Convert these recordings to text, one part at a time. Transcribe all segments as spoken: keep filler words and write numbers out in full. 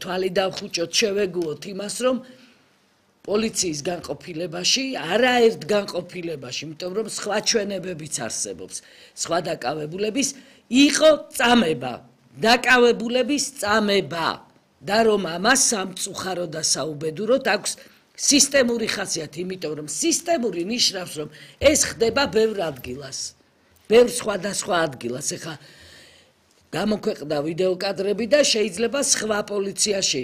თვალი დავხუჭოთ, შევეგუოთ იმას, რომ პოლიციის განყოფილებაში, არაერთ განყოფილებაში, იმიტომ რომ სხვა ჩვენებებიც არსებობს, სხვა დაკავებულების იყო წამება, დაკავებულების წამება და რომ ამას სამწუხარო და საუბედუროდ აქვს სისტემური ხასიათი, იმიტომ რომ სისტემური ნიშნავს, რომ ეს ხდება ბევრ ადგილას, ბევრ სხვადასხვა ადგილას. ეხლა გამოქვეყნდა ვიდეო კადრები და შეიძლება სხვა პოლიციაში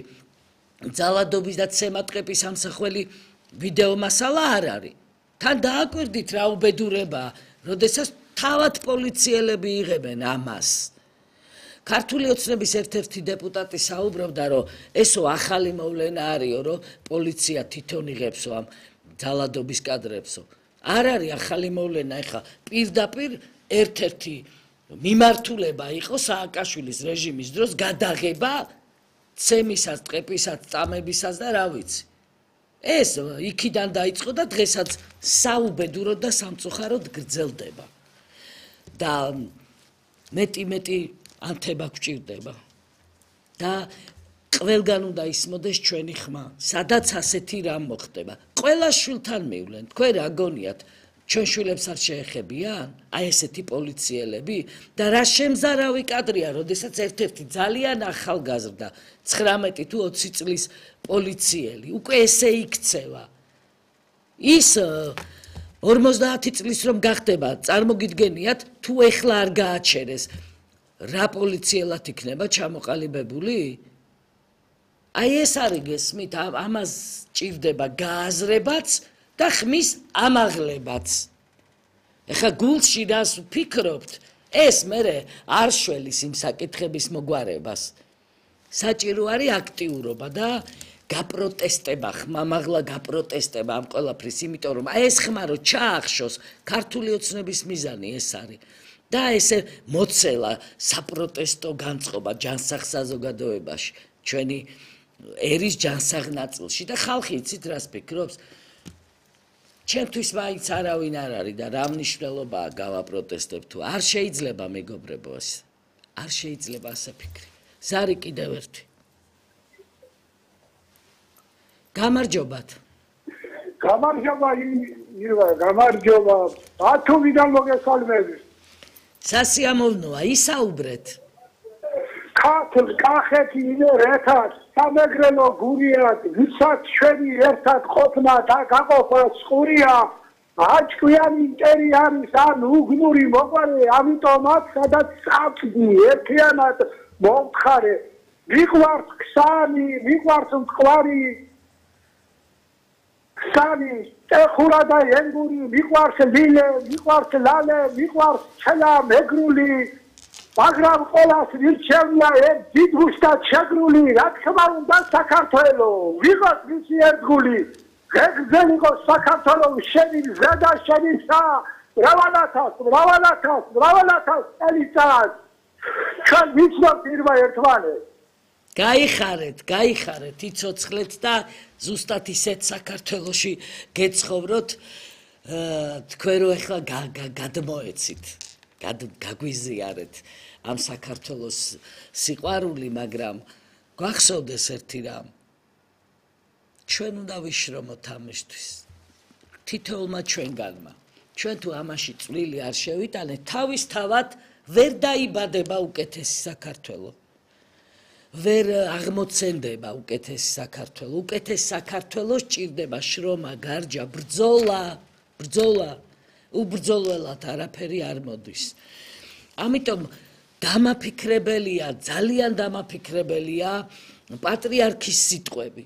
ძალადობის და ცემატყეპის ამსახველი ვიდეო მასალა არ არის. თან დააკვირდით რა უბედურებაა, როდესაც თავად პოლიციელები იღებენ ამას. ქართული ოცნების ერთ-ერთი დეპუტატი საუბრობდა, რომ ესო ახალი მოვლენა არისო, რომ პოლიცია თვითონ იღებსო ამ ძალადობის კადრებსო. არ არის ახალი მოვლენა, ეხლა პირდაპირ ერთ-ერთი მიმართულება იყო სააკაშვილის რეჟიმის დროს გადაღება ცემისას, ტყეპისას, წამებისას და რა ვიცი. ეს იქიდან დაიწყო და დღესაც საუბედუროდ და სამწუხაროდ გრძელდება. და მეტი-მეტი ანთება გვჭირდება. და ყველგან უნდა ისმოდეს ჩვენი ხმა, სადაც ასეთი რამ მოხდება. ყველა შვილთან მივლენ, თქვენ რა გონიათ, ჩვენ შვილებს არ შეეხებიან? აი ესეთი პოლიციელები და რა შემზარავი კადრია, როდესაც ერთ-ერთი ძალიან ახალგაზრდა ცხრამეტი თუ ოცი წლის პოლიციელი უკვე ესე იქცევა. ის ორმოცდაათი წლის რომ გახდება, წარმოგიდგენიათ, თუ ეხლა არ გააჩერეს, რა პოლიციელად იქნება ჩამოყალიბებული? აი ეს არის გესმით, ამას ჭირდება გააზრებაც და ხმის ამაღლებაც. ეხლა გულში რას ვფიქრობთ, ეს მერე არ შველის იმ საკითხების მოგვარებას. საჭირო არის აქტიურობა და გაპროტესტება, ხმამაღლა გაპროტესტება ამ ყველაფრის, იმიტომ რომ აი ეს ხმა რო ჩაახშოს, ქართული ოცნების მიზანი ეს არის. და ესე მოცელა საპროტესტო განწყობა ჯანსაღ საზოგადოებაში, ჩვენი ერის ჯანსაღ ნაწილში და ხალხი იცით რას ფიქრობს? ჩემთვის მაინც არავინ არ არის და რა მნიშვნელობაა გავაპროტესტებ თუ არ შეიძლება მეგობრებო ეს. არ შეიძლება ასე ფიქრი. ზარი კიდევ ერთი. გამარჯობათ. გამარჯობა ირვა, გამარჯობა. ათოვიდან მოგესალმები. სასიამოვნოა, ისაუბრეთ. ქართლ, კახეთი, ერთხად, სამეგრელო გურიად, ვისაც ჩვენი ერთად ყოფნა და გაყოფა წყურია, აჭკვიანი მტერი არის ან უგნური მოყვარე, ამიტომაც სადაც წავდი ერთიანად მომთხარე, მიყვართ ქსანი, მიყვართ მტკვარი, ქსანი, ტეხურა და ენგური, მიყვართ ლილე, მიყვართ ლალე, მიყვართ ჩელა მეგრული, მაგრამ ყველას ვირჩევია ერთ დიდგუშტად შეგრული, რა თქმა უნდა საქართველო, ვიღოთ მისი ერთგული, ღეგრძელიყო საქართველო, შენი გზა და შენი ცა, მრავალათას, მრავალათას, მრავალათას წელიწად. ჩვენ ვიცნობთ ირმა ერთმანეთს. გაიხარეთ, გაიხარეთ, იცოცხლეთ და ზუსტად ისეთ საქართველოში გეცხოვროთ, თქვენ რო ეხლა გადმოეცით, გაგვიზიარეთ ამ საქართველოს სიყვარული, მაგრამ გვახსოვდეს ერთი რამ. ჩვენ უნდა ვიშრომოთ ამისთვის. თითოეულმა ჩვენგანმა. ჩვენ თუ ამაში წვლილი არ შევიტანეთ, თავისთავად ვერ დაიბადება უკეთესი საქართველო. ვერ აღმოცენდება უკეთესი საქართველო. უკეთეს საქართველოს ჭირდება შრომა, გარჯა, ბრძოლა, ბრძოლა. უბრძოლველად არაფერი არ მოდის. ამიტომ დამაფიქრებელია, ძალიან დამაფიქრებელია პატრიარქის სიტყვები.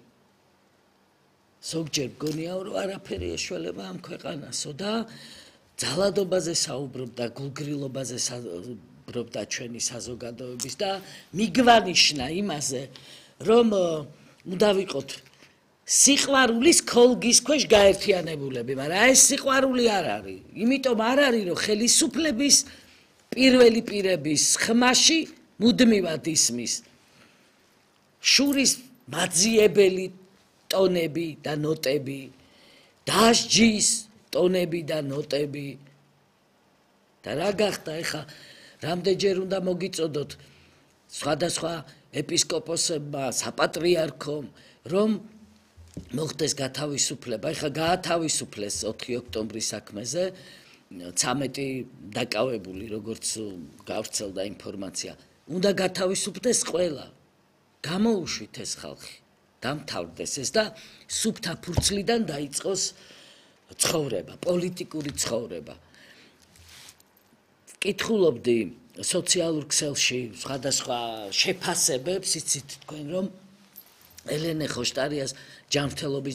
ზოგჯერ გონია რომ არაფერი ეშველება ამ ქვეყანასო და ძალადობაზე საუბრობდა, გულგრილობაზე საუბრობდა ჩვენი საზოგადოების და მიგვანიშნა იმაზე, რომ უნდა ვიყოთ სიყვარულის ქოლგის ქვეშ გაერთიანებულები, მაგრამ ეს სიყვარული არ არის. იმიტომ არ არის, რომ ხელისუფლების პირველი პირების ხმაში მუდმივად ისმის შურის მაძიებელი ტონები და ნოტები, დასჯის ტონები და ნოტები. და რა გახდა ეხა, რამდენჯერ უნდა მოგიწოდოთ სხვადასხვა ეპისკოპოსებმა, საპატრიარქომ, რომ მოხდეს გათავისუფლება. ეხლა გაათავისუფლეს ოთხი ოქტომბრის საქმეზე ცამეტი დაკავებული, როგორც გავრცელდა ინფორმაცია. უნდა გათავისუფლდეს ყველა. გამოუშვით ეს ხალხი. დამთავრდეს ეს და სუფთა ფურცლიდან დაიწყოს ცხოვრება, პოლიტიკური ცხოვრება. ვკითხულობდი სოციალურ ქსელში სხვადასხვა შეფასებებს, იცით თქვენ რომ ელენე ხოშტარიას ჯანმრთელობის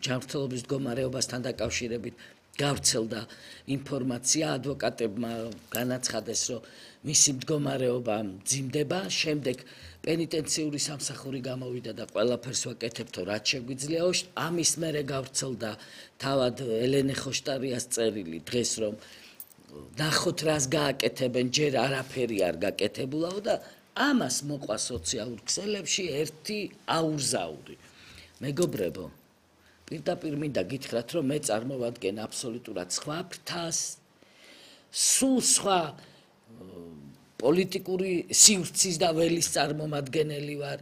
ჯანმრთელობის მდგომარეობასთან დაკავშირებით გავრცელდა ინფორმაცია, ადვოკატებმა განაცხადეს, რომ მისი მდგომარეობა მძიმდება, შემდეგ პენიტენციური სამსახური გამოვიდა და ყველაფერს ვაკეთებთ, რაც შეგვიძლია. ამის მერე გავრცელდა თავად ელენე ხოშტარიას წერილი დღეს, რომ ნახოთ რას გააკეთებენ, ჯერ არაფერი არ გაკეთებულაო და ამას მოყვა სოციალურ ქსელებში ერთი აურზაური. მეგობრებო, პირდაპირ მინდა გითხრათ, რომ მე წარმოვადგენ აბსოლუტურად სხვა ფრთას, სულ სხვა პოლიტიკური სივრცის და ველის წარმომადგენელი ვარ.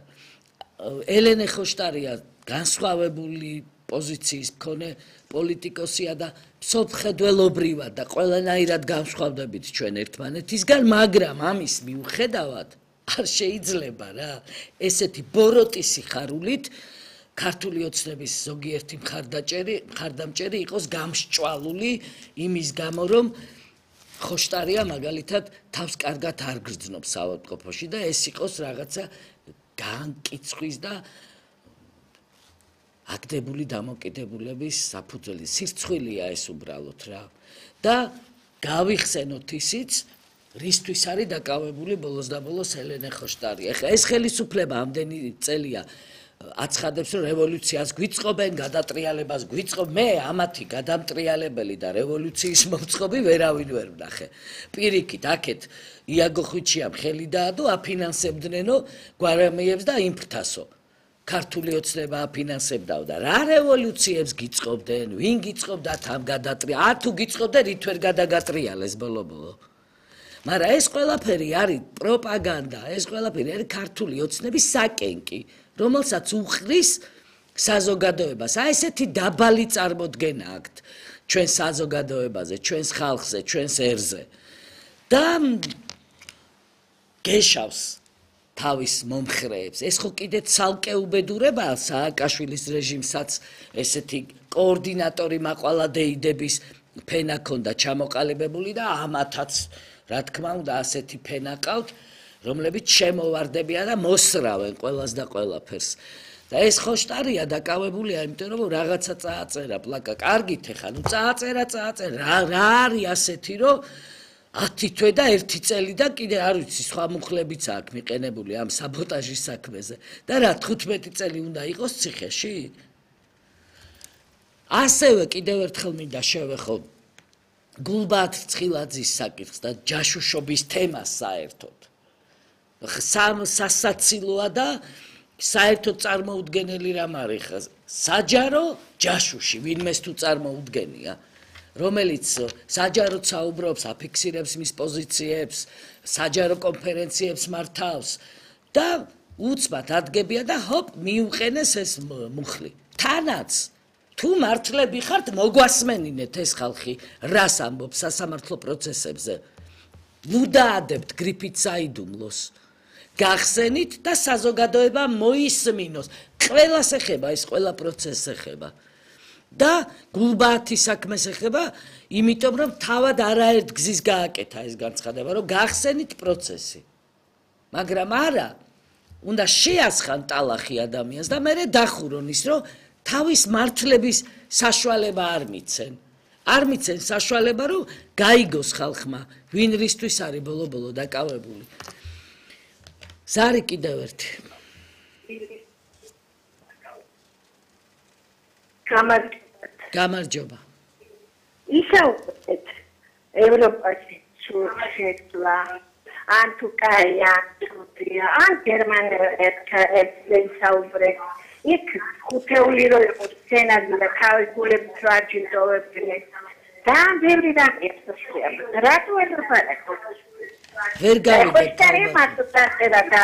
ელენე ხოშტარია განსხვავებული პოზიციის მქონე პოლიტიკოსია და მსოფლმხედველობრივად და ყველანაირად განსხვავდებით ჩვენ ერთმანეთისგან, მაგრამ ამის მიუხედავად არ შეიძლება რა ესეთი ბოროტი სიხარულით ქართული ოცნების ზოგიერთი მხარდაჭერი მხარდამჭერი იყოს გამსჭვალული იმის გამო, რომ ხოშტარია მაგალითად თავს კარგად არ გრძნობს საავადმყოფოში და ეს იყოს რაღაცა განკიცხვის და აკდებული დამოკიდებულების საფუძველი. სირცხვილია ეს უბრალოდ რა. და გავიხსენოთ ისიც, რისთვის არის დაკავებული ბოლოს და ბოლოს ელენე ხოშტარია. ეხლა ეს ხელისუფლება ამდენი წელია აცხადებს, რომ რევოლუციას გვიწყობენ, გადატრიალებას გვიწყობ. მე ამათი გადამტრიალებელი და რევოლუციის მომწყობი ვერავინ ვერ ვნახე. პირიქით, აქეთ იაგო ხვიჩიამ ხელი დაადო, აფინანსებდნენო გვარამიებს და იმფრთასო. ქართული ოცნება აფინანსებდაო და რა რევოლუციებს გიწყობდნენ, ვინ გიწყობდა თან გადატრია, არ თუ გიწყობდნენ, რით ვერ გადაგატრიალეს ბოლო-ბოლო. მაგრამ ეს ყველაფერი არის პროპაგანდა, ეს ყველაფერი არის ქართული ოცნების საკენკი, რომელსაც უხდის საზოგადოებას. აი ესეთი დაბალი წარმოდგენა აქვთ ჩვენ საზოგადოებაზე, ჩვენს ხალხზე, ჩვენს ერზე. და გეშავს თავის მომხრეებს. ეს ხო კიდე ცალკე უბედურებაა სააკაშვილის რეჟიმსაც ესეთი კოორდინატორი მაყვალადეიდების ფენა ქონდა ჩამოყალიბებული და ამათაც რა თქმა უნდა ასეთი ფენა ყავთ, რომლებიც შემოვარდებიან და მოსრავენ ყველას და ყველაფერს. და ეს ხოშტარია დაკავებულია, იმიტომ რომ რაღაცა წააწერა პლაკა. კარგით ეხა, ნუ წააწერა, წააწერა. რა რა არის ასეთი, რომ ათი თვე და ერთი წელი და კიდე არ ვიცი სხვა მუხლებიც აქვს მიყენებული ამ საბოტაჟის საქმეზე. და რა თხუთმეტი წელი უნდა იყოს ციხეში? ასევე კიდევ ერთხელ მინდა შევეხო გულბაათ ცხილაძის საკითხს და ჯაშუშობის თემას საერთოდ. სამ სასაცილოა და საერთოდ წარმოუდგენელი რამ არის ხა საჯარო ჯაშუში, ვინმეს თუ წარმოუდგენია, რომელიც საჯაროდ საუბრობს, აფიქსირებს მის პოზიციებს, საჯარო კონფერენციებს მართავს და უცბად ადგებია და ჰოპ მიუყენეს ეს მუხლი. თანაც თუ მართლები ხართ, მოგვასმენინეთ ეს ხალხი რას ამბობს სასამართლო პროცესებზე. ნუ დაადებთ გრიფით საიდუმლოს. გახსენით და საზოგადოება მოისმინოს. ყველას ეხება ეს ყველა პროცესს ეხება. და გულბაათის საქმეს ეხება, იმიტომ რომ თავად არაერთ გზის გააკეთა ეს განცხადება, რომ გახსენით პროცესი. მაგრამ არა, უნდა შეასხან ტალახი ადამიანს და მერე დახურონ ის, რომ თავის მართლების საშუალება არ მიცენ. არ მიცენ საშუალება, რომ გაიგოს ხალხმა, ვინ რისთვის არის ბოლო-ბოლო დაკავებული. ზარი კიდევ ერთი. გამარჯობა. ისაუბრეთ ევროპაში შეცვლა, ან თუ კაი, ან თუთია, ან გერმანელებს ისაუბრეთ. იქ ხუთეული რო იყო სცენარი და თავის გულებს რო აჯილდოვებდნენ. ძალიან ბევრი რამეებს შეამბა. რატო ვერ ვფარეთ? ვერ გავიგეთ. ხოშტარია მარტო დაწერა და